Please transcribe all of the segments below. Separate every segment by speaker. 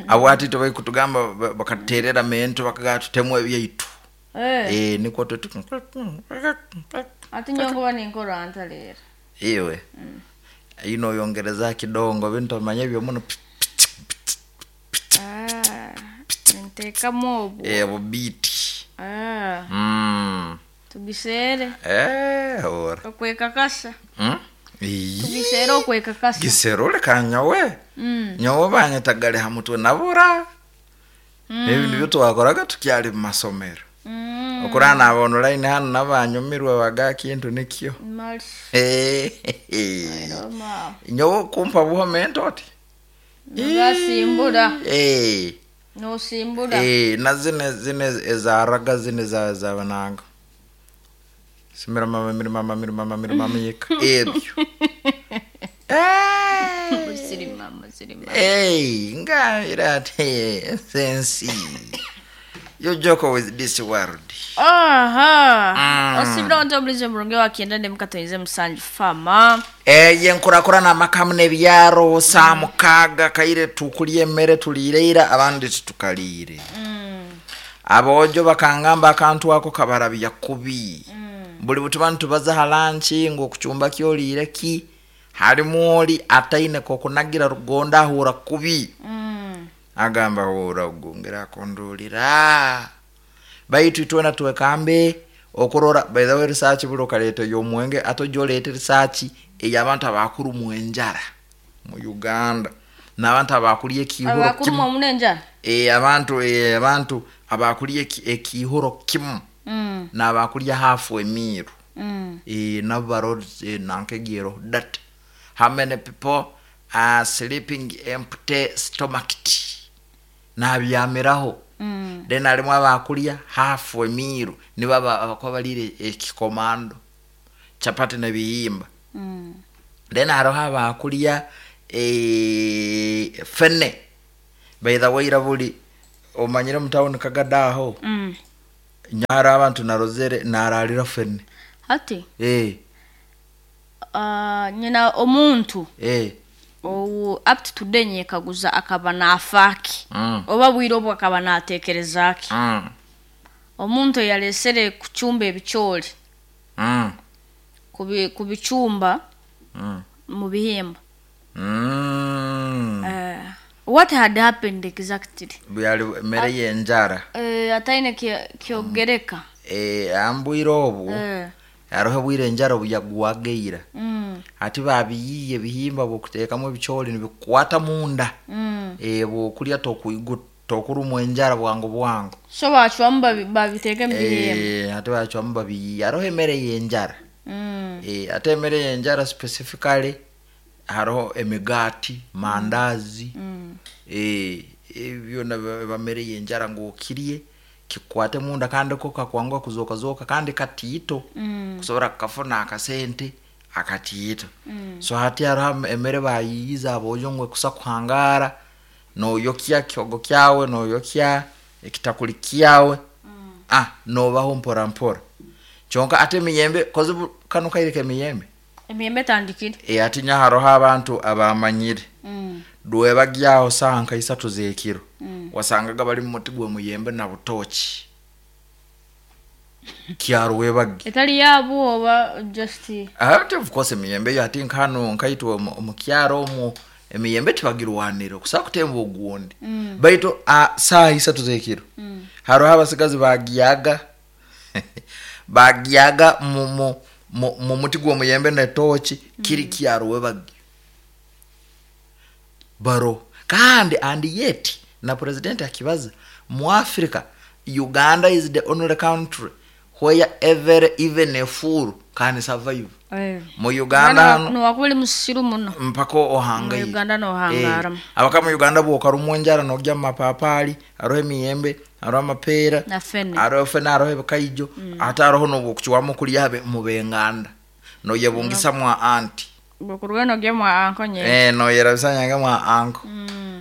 Speaker 1: Abo hati itwe barikutugamba bakatuteerera mento bakagamba tutemu ebyaitu.
Speaker 2: Eh.
Speaker 1: Eh, nikwo tuti.
Speaker 2: Ati nyowe nkuba ninkora nta leero.
Speaker 1: Iwe. Ino oyongereza kidongo bintu omanye ebyo muno.
Speaker 2: Ah, ninteekamu obwo.
Speaker 1: Eh, bubiiti.
Speaker 2: Ah, Tugiseere.
Speaker 1: Eh, ora.
Speaker 2: Okwekakasa.
Speaker 1: Ii.
Speaker 2: Tugiseere okwekakasa.
Speaker 1: Giserule ka nyowe. Nyowe banyetagale ha mutwe nabura. Ebi nibyo twakoraga tukyali mu masomero. Okurana naba online hanu nabanyumirwe baga kintu nikyo.
Speaker 2: Mali.
Speaker 1: Eh.
Speaker 2: Roma.
Speaker 1: Nyowe kumpa buhomento oti.
Speaker 2: Nogasimbura.
Speaker 1: Eh.
Speaker 2: Nosimbura.
Speaker 1: Eh, na zine zine ezaraga zine za zabananga. Simira mama mira mama mira mama mira mama yeka. Ebyo. Eh.
Speaker 2: Siri mama, siri mama.
Speaker 1: Hey, ngambira ati sensi. You joke with this world.
Speaker 2: Aha. Osibira onto obulize murungi wa kienda ne mukatoize musanju fama.
Speaker 1: Eye nkurakurana amakamu n'ebyaro saa mukaaga kaire tukulya emmere tuliire abandi titukaliire. Aboojo bakangamba akantu ako kabarabya kubi. Buli butuba nitubaza ha lanchi ngu okucumba kyoliire ki harimu ori ataine kokunagira rugonda ahura kubi. Agamba hura ogungera akundulira. Baitu itwena twekambe okurora by the way research buli okaleeta ey'omwenge ate ojja oleete research ey'abantu abakurumwa enjara mu Uganda n'abantu abakurya ekiihuro
Speaker 2: Abakurumwa
Speaker 1: kimu.
Speaker 2: muno enjara?
Speaker 1: Eh, abantu eh, abantu abakurya ekiihuro kimu n'abakurya half emiiro. Eh, nabo baro eh, nankegiero that how many people are sleeping empty stomach nabyamiraho. Then harimu abakurya half emiiro nibo abakuba bariire ekikomando chapati n'ebihimba. Then hariho abakurya eh, fene. By the way buri omanyire omu town Kagado aho nyara abantu narozere nararira fene.
Speaker 2: Hati
Speaker 1: Eh,
Speaker 2: nyina omuntu
Speaker 1: eh.
Speaker 2: owu up to today nyekaguza akaba nafaaki oba bwire obwo akaba nateekereza ki. Omuntu eyalesere kucumba ebicoori kubicumba mu bihimba. What had happened exactly?
Speaker 1: Byari mere y'enjara.
Speaker 2: Eh, ataine kyogereka.
Speaker 1: Eh, ambwire obu hariho obwire enjara obuyagwageira. Hati babiyiiye ebihimba bw'okuteekamu ebicoori nibikwata munda. Eh, bw'okurya tokurumwa enjara bwangu bwangu.
Speaker 2: So bacwamu babiteeke mu bihimba.
Speaker 1: Eh, hati bacwamu babiyiiye. Hariho emere y'enjara. Eh, ate emere y'enjara specifically hariho emigaati, mandazi. Eh, ebyo byona biba mere y'enjara ngu okirye kikukwate munda kandi ko kakwanguha kuzooka kandi katiito kusobora kukafuna akasente akatiito. So hati hariho emere bayiiyize aboojo ngu ekusa kuhangara noyokya kihogo kyawe noyokya ekitakuli kyawe ah nobaho mpora mpora. Kyonka ate emiyembe kozi kanu kaire k'emiyembe.
Speaker 2: Emiyembe etandikire.
Speaker 1: Eh, ati nya hariho abantu abamanyire. Dwebagyaho saaha nka isatu z'ekiro. Wasangaga bari mu muti gw'emiyembe na butoki. Kyarwebagi.
Speaker 2: Etali yaabo oba just
Speaker 1: Ate of course emiyembe yo ati nkano nkaitwe omu kyaro omu emiyembe tibagirwanira okusobola kutemba ogundi. Baitu saaha isatu z'ekiro. Hariho abasigazi bagyaga bagyaga mu mu mu mu muti gw'omuyembe n'etoki kiri kyarwebagi. Baro kandi and yet na president akibaza mu Africa Uganda is the only country where every even a fool can survive.
Speaker 2: Eh.
Speaker 1: Mu Uganda hano
Speaker 2: Nowakuba oli musiru muno.
Speaker 1: mpaka ohangaire.
Speaker 2: Mu Uganda nohangaramu.
Speaker 1: Eh, abaka mu Uganda bw'okarumwa enjara nogya mu mapapaali hariho emiyembe hariho amapeera
Speaker 2: Na fene.
Speaker 1: hariho fene hariho ebikaijo ate hariho n'obwokucwamu kurya mu benganda noyebungisa mwa anti.
Speaker 2: Bwokuruga nogya mwa anko nye.
Speaker 1: Eh, noyerabisa nyange mwa anko.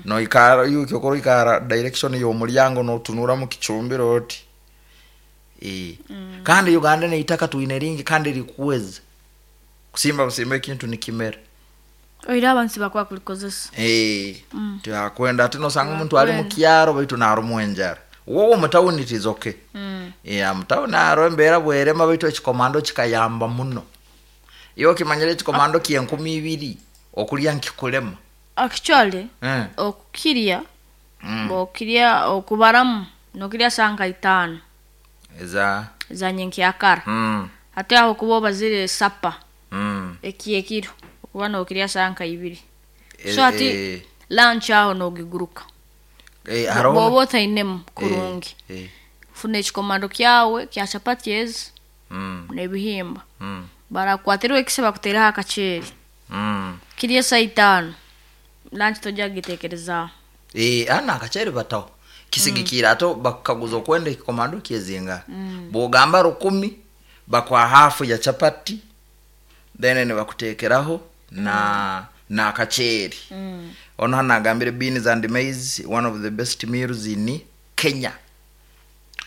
Speaker 1: Noikara yuki okoro direction y'omuryango notunura mu kicumbiro oti. Eh. Kandi Uganda neitaka twine ringi kandi rikuweza. Kusimba busimba ekintu nikimera.
Speaker 2: Oihireho abantu tibakuba kurikozesa.
Speaker 1: Eh, tibakwenda ati nosanga omuntu ari mukyaro baitu narumwa enjara. Wowe omu tawuni it is okay. Yeah, omu tawuni hariho embeera bwerema baitu ekikomando kikayamba muno. Iwe okimanyire ekikomando ky'enkumi ibiri okurya nikikurema.
Speaker 2: Actually,
Speaker 1: Eh.
Speaker 2: okukirya, okirya okubaramu nokirya saaha nka itaano
Speaker 1: Eza
Speaker 2: za nyenkyakara. Hati aho okuba obazire sapa ekyekiro okuba nokirya saaha nka ibiri. So hati lunch aho nogiguruka.
Speaker 1: Hariho
Speaker 2: Bwoba otainemu kurungi. Funa ekikomando kyawe kya chapati ezi n'ebihimba. Barakukwatirwa ekisa bakuteereho akaceeri. Kirye saaha itaano. Lunch tojja kugiteekerezaaho.
Speaker 1: Hanu akaceeri bataho. Kisigikiire ate bakukaguza okwenda ekikomando kyezingaha. Bwogamba 1000 bakuha hafu ya chapati then nibakuteekeraho na n'akaceeri. Onu hanu nagambire beans and maize one of the best meals in Kenya.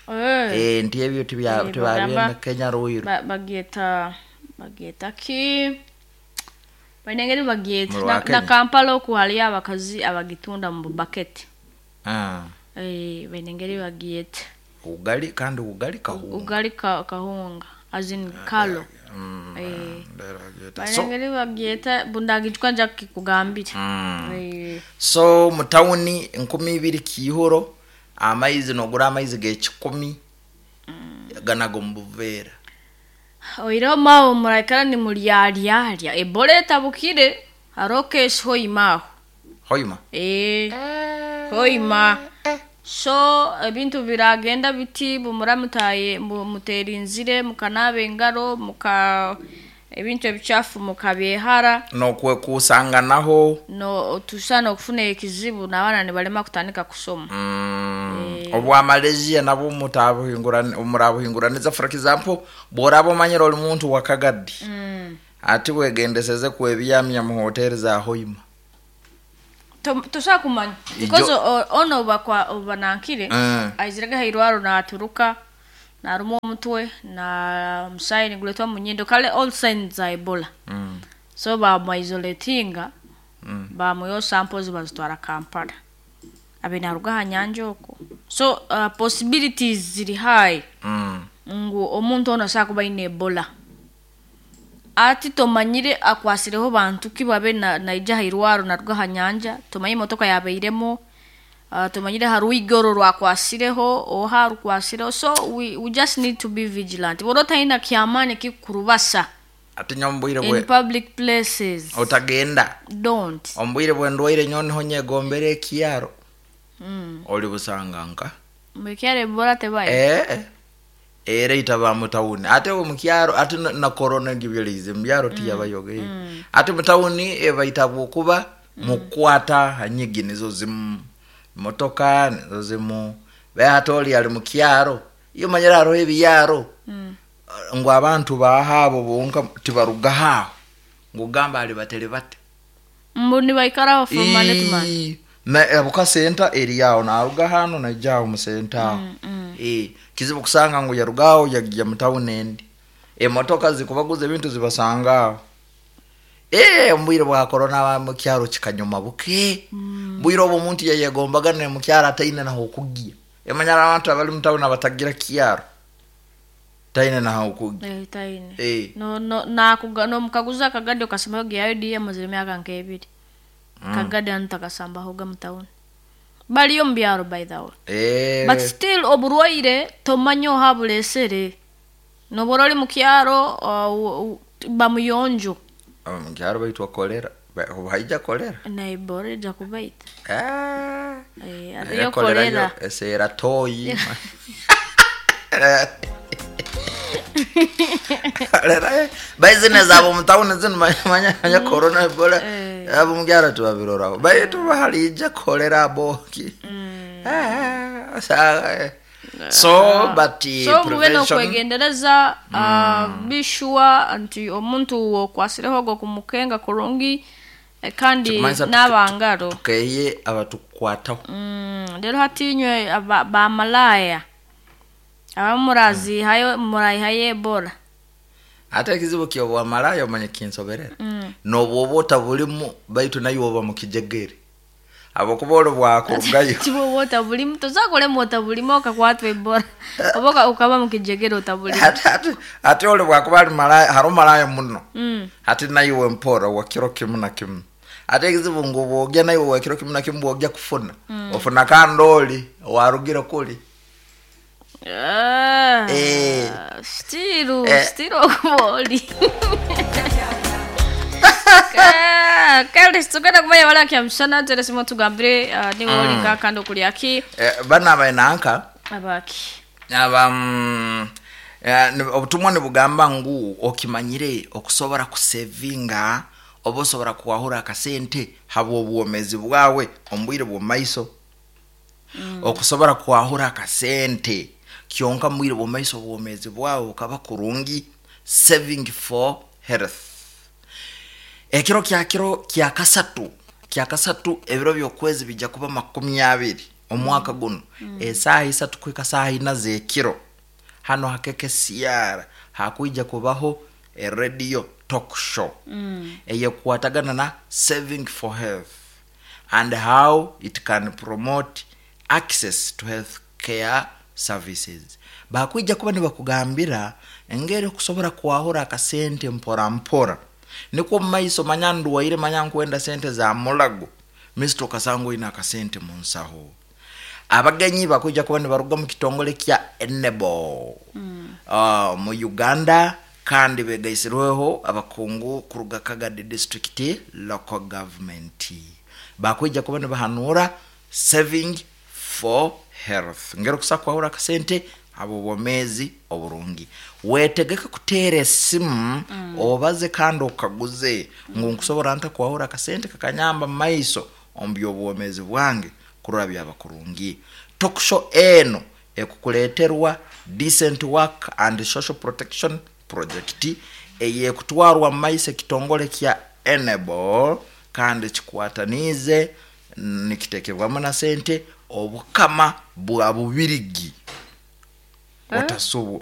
Speaker 1: Nti ebyo tibabyenda Kenya Ruiru.
Speaker 2: Bagyeta bagyeta ki? Baine engeri bagyeta.
Speaker 1: Mu rwa
Speaker 2: Na
Speaker 1: Kenya.
Speaker 2: Kampala oku hariyo abakazi abagitunda mu bubaketi. Baine engeri bagyeta.
Speaker 1: Ugali kandi ugali kahunga.
Speaker 2: Ugali kahunga as in kalo.
Speaker 1: Bagyeta.
Speaker 2: Baine
Speaker 1: So,
Speaker 2: engeri bagyeta bundagijwa nja kukikugambira.
Speaker 1: So mu tawuni 2000 kiihuro amaizi nogura amaizi g'ekikumi ganaga omu buveera.
Speaker 2: Oihireho maawe muraikara nimuryaryarya Ebola etabukire hariho case Hoima aho.
Speaker 1: Hoima?
Speaker 2: Hoima. So ebintu biragenda biti bumura mutaye muterinzire mukanaaba engaro muka ebintu ebikyafu mukabyehara.
Speaker 1: N'okwekusanganaho.
Speaker 2: No tusaana okufuna ekizibu n'abaana nibarema kutandika kusoma.
Speaker 1: Obwa Malaysia nabwo murabuhinguraniza for example bworaba omanyire ori muntu wa Kagadi ati wegendeseze kwebyamya mu hoteri za Hoima.
Speaker 2: Tosobola kumanya because ono obanankire aizirege hairwaro naturuka narumwa omutwe na omusaayi niguretwa omu nyindo kale all signs za Ebola. So bamuisolatinga bamwihaho samples bazitwara Kampala. Abe naruga aha nyanja okwo. So possibilities ziri high ngu omuntu onu asobola kuba aine Ebola. Ati tomanyire akwasireho bantu ki babe naija aha irwaro naruga aha nyanja, tomanyire emotoka yabairemu, tomanyire aha rwiga orwo rwakwasireho oha arukwasireho. So we just need to be vigilant. Bw'oba otaine kyamaani kikukurubasa
Speaker 1: Ati nyowe omu bwire
Speaker 2: in
Speaker 1: bwe
Speaker 2: public places.
Speaker 1: otagenda.
Speaker 2: Don't.
Speaker 1: Omu bwire bw'endwaire nyowe niho nyegombera ekyaro. Ori busanga nka.
Speaker 2: Mukyaro Ebola tebayo.
Speaker 1: Era itaba mu tawuni ate omu kyaro ate na corona egibiriize mu byaro tiyabayoga. Ate mu tawuni ebaita bwokuba mukwata hanyigi nizo zimu motoka nizo zimu ate ori ari mu kyaro iyo omanyire hariho ebiyaro ngu abantu bahaabo bonka tibaruga haaho ngu gamba ari batere bate.
Speaker 2: Mbu nibaikaraho from Monday to Monday.
Speaker 1: Na abuka senta eri aho naruga hano naija aho mu senta aho. Kizibu kusanga ngu yarugaho yagya mu tawuni endi. Emotoka zikubaguza ebintu zibasanga aho. Omu bwire bwa corona mu kyaro kikanyoma buke. Bwire obu omuntu yayegombaga mu kyaro ataine naho okugya. Emanyara abantu abari mu tawuni abatagira kyaro. Taine naho okugya.
Speaker 2: Taine. No no nakuga no mukaguza akagadi okasemayo gyayo DM ziri myaka nk'ebiri. Kagadi anu takasambahoga mu tawuni. Bariyo mu byaro by the way. But still oburwaire tomanya oha buresere. Nobora ori mu kyaro bamuyonjo.
Speaker 1: Mu kyaro baitwa kolera. Haija kolera.
Speaker 2: Na Ebola ija kubaita.
Speaker 1: Era
Speaker 2: Ariyo
Speaker 1: kolera
Speaker 2: kolera.
Speaker 1: yo esera toyi. Kolera. Baizine zabo mu tawuni zinu manya corona Ebola. Abo mu kyaro tubabiroraho. Baitu harija kolera boki. So but
Speaker 2: So mube
Speaker 1: prevention
Speaker 2: n'okwegendereza be sure nti omuntu okwasireho ogwo kumukenga kurungi kandi
Speaker 1: Kikumanyisa
Speaker 2: n'abangaro.
Speaker 1: tukeye abatukwataho.
Speaker 2: Rero hatinywe bamalaya abamu murazihayo murayihayo Ebola.
Speaker 1: Ate ekizibu ky'obwamalaaya omanye kinsoberera. N'obu oba otabulimu baitu naiwe oba mu kijegere. Habwokuba oli bwakurugayo.
Speaker 2: Tibwoba otabulimu tosobola kurema otabulimu okakwatwa Ebola oba oka- okaba mu kijegere otabulimu.
Speaker 1: Hati hati hati oli bwakuba ali malaaya hariho malaaya muno. Hati naiwe mpora wa kiro kimu na kimu. Hati ekizibu ngu bwogya naiwe wa kiro kimu na kimu bwogya kufuna. Ofuna kandi oli owarugire kuli.
Speaker 2: Ah,
Speaker 1: Eh.
Speaker 2: Still,
Speaker 1: Eh.
Speaker 2: still okuba oli. Kale tugenda kumanya bala kyamushana teresimu tugambire niwe oli nka kandi okulya ki
Speaker 1: Eh, bana abainanka
Speaker 2: abaki.
Speaker 1: aba obutumwa nibugamba ngu okimanyire okusobora kusevinga oba osobora kuwahura akasente habw'obwomezi bwawe omu bwire bw'omumaiso. Okusobora kwahura akasente kyonka omu bwire bw'omumaiso obwomezi bwawe bukaba kurungi, saving for health. Ekiro kya kiro kya kasatu kya kasatu ebiro by'okwezi bija kuba 20 omwaka gunu esaaha isatu kuhika saaha ina z'ekiro hanu ha KKCR hakwija kubaho e radio talk show eyekukwatagana na saving for health and how it can promote access to health care services. Bakwija kuba nibakugambira engeri okusobora kwahura akasente mpora mpora nikwo omu maiso manya ndwaire manya nkwenda sente za mulago misito okasanga oine akasente mu nsaho. Abagenyi bakwija kuba nibaruga omu kitongole kya Enable mu Uganda kandi begaisirweho abakungu kuruga Kagadi District Local Government. Bakwija kuba nibahanuura saving for health ngeri okusa kwahura akasente habw'obwomeezi oburungi. Wetegeke kuteera esimu obaze kandi okaguze ngu nkusobora nta kwahura akasente kakanyamba mu maiso omu by'obwomeezi bwange kurora byaba kurungi. Talk show eno ekukuleeterwa Decent Work and Social Protection Project eyekutwarwa mu maiso ekitongole kya Enable kandi kikwataniize nikitekebwamu na sente Obukama bwa Bubirigi. Otasubwa.